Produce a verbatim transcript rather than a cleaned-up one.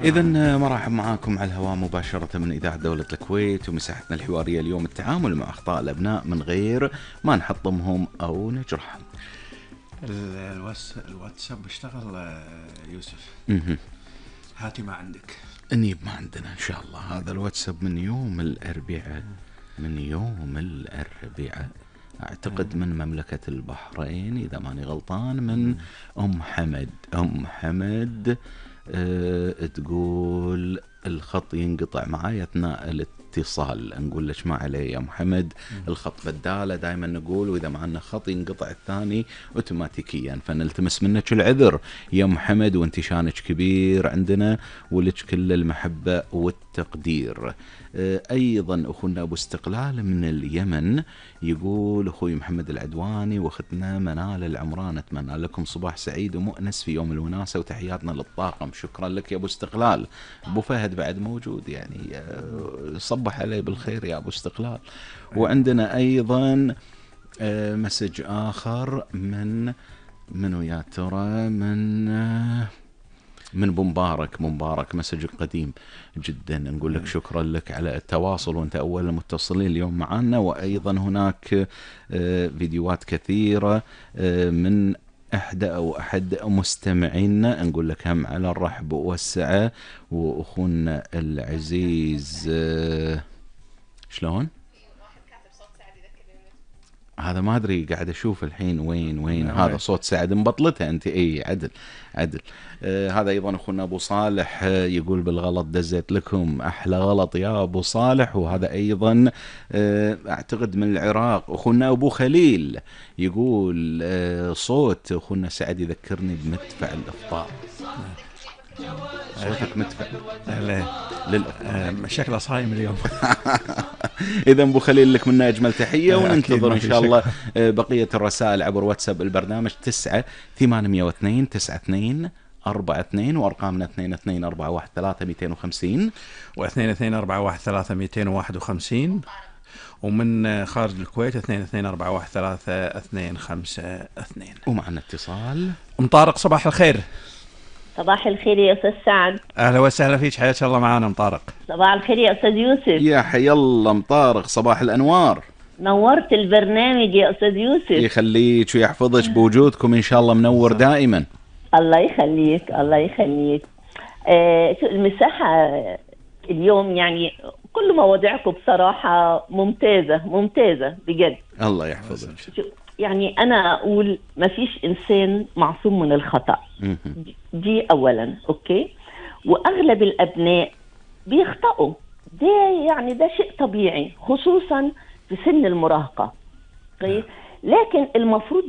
إذن مرحب معاكم على الهواء مباشرة من إذاعة دولة الكويت، ومساحتنا الحوارية اليوم التعامل مع أخطاء الأبناء من غير ما نحطمهم أو نجرحهم. الواتساب اشتغل يوسف. مه. هاتي ما عندك. نجيب ما عندنا إن شاء الله. هذا الواتساب من يوم الأربعاء، من يوم الأربعاء أعتقد من مملكة البحرين إذا ماني غلطان، من أم حمد. أم حمد أه تقول الخط ينقطع معاي أثناء الاتصال. نقول لك ما عليه يا محمد، الخط بدالة دائما نقول، وإذا معنا خط ينقطع الثاني أوتوماتيكيا، فنلتمس منك العذر يا محمد، وانت شانك كبير عندنا ولك كل المحبة والتقدير. أيضا أخونا أبو استقلال من اليمن يقول أخوي محمد العدواني وأختنا منال العمران، أتمنى لكم صباح سعيد ومؤنس في يوم الوناسة، وتحياتنا للطاقم. شكرا لك يا أبو استقلال. أبو فهد بعد موجود يعني، صبح عليه بالخير يا أبو استقلال. وعندنا أيضا مسج آخر من منو يا ترى، من من مبارك. مبارك مسج قديم جدا، نقول لك شكرا لك على التواصل، وانت اول المتصلين اليوم معنا. وايضا هناك فيديوهات كثيرة من احدى او احد مستمعينا، نقول لك هم على الرحب والسعة. واخونا العزيز شلون هذا ما أدري، قاعد أشوف الحين وين وين هذا صوت سعد مبطلتها أنت. أي عدل عدل. آه هذا أيضا أخونا أبو صالح آه يقول بالغلط دزيت لكم، أحلى غلط يا أبو صالح. وهذا أيضا آه أعتقد من العراق. أخونا أبو خليل يقول آه صوت أخونا سعد يذكرني بمدفع الإفطار. صوتك مدفع. لا للأخ شكله صايم اليوم. إذا أبو خليل لك منا أجمل تحية، وننتظر إن شاء الله بقية الرسائل عبر واتساب البرنامج تسعة ثمانمية واثنين تسعة اثنين أربعة اثنين، وأرقامنا اثنين اثنين أربعة واحد ثلاثة مئتين وخمسين واثنين اثنين أربعة واحد ثلاثة مئتين وواحد وخمسين، ومن خارج الكويت اثنين اثنين أربعة واحد ثلاثة اثنين خمسة اثنين. ومعنا اتصال. أم طارق صباح الخير. صباح الخير يا أستاذ سعد. أهلا وسهلا فيك، حياك الله معانا أم طارق. صباح الخير يا أستاذ يوسف. يا حي الله أم طارق، صباح الأنوار. نورت البرنامج يا أستاذ يوسف. يخليك ويحفظك بوجودكم إن شاء الله، منور دائما. الله يخليك الله يخليك. آه المساحة اليوم يعني كل مواضيعكم بصراحة ممتازة ممتازة بجد. الله يحفظك. يعني أنا أقول ما فيش إنسان معصوم من الخطأ، دي أولا. أوكي، وأغلب الأبناء بيخطئوا، ده يعني ده شيء طبيعي خصوصا في سن المراهقة. لكن المفروض